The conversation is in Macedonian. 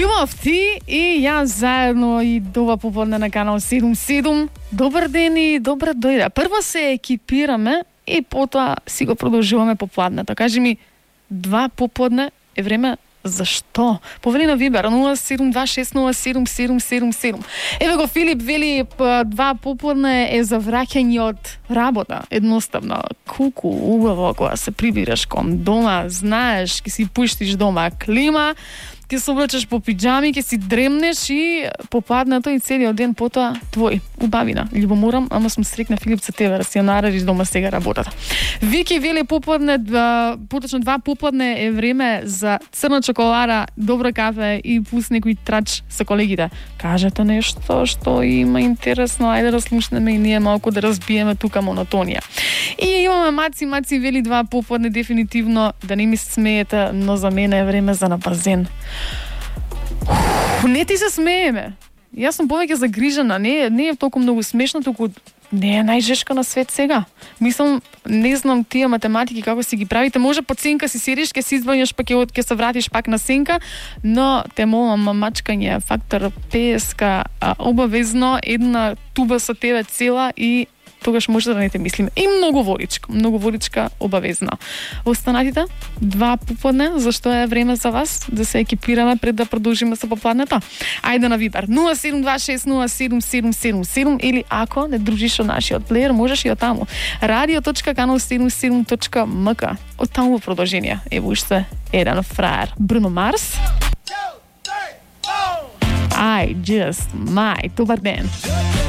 Љубов ти и јас заедно и дова поподне на канал 77. Добар ден и добра дојде. Прво се екипираме и потоа си го продолжуваме попладнето. Кажи ми, 2 поподне е време за што? Повели на Вибер 0726077777. Еве го Филип вели 2 поподне е за враќање од работа. Едноставно, колку убаво кога се прибираш кон дома, знаеш, ќе си пуштиш дома клима, ќе се облечеш по пиџами, ќе си дремнеш и попладнато и целиот ден потоа твој. Убавина. Љубоморам, ама сум срекна Филип за тебе, да си ја наредиш дома сега работата. Вики вели попладне, поточно 2 попладне е време за црна чоколада, добро кафе и пус некој трач со колегите. Кажете нешто што има интересно, ајде да слушнеме и ние малку да разбиеме тука монотонија. И имаме Маци вели 2 попладне дефинитивно, да не ми се смеете, но за мене е време за на базен. Не ти се смееме. Јас сум повеќе загрижена, не е толку многу смешно, туку не е најжешка на свет сега. Мислам, не знам тие математики како си ги правите, може под сенка си седиш, ќе си извањаш, па ќе се вратиш пак на сенка, но те молам, мачкање, фактор 50, обавезно една туба со тебе цела и тогаш може да не те мислиме. И многу водичка обавезно. Останатите 2 попладне, зашто е време за вас да се екипираме пред да продолжиме со попладнето. Ајде на Вибер 0726077777 или ако не дружиш со нашиот плеер, можеш и од таму. radio.canal77.mk. Од таму во продолжение. Ево уште еден фраер. Бруно Марс. I just might. Добар ден.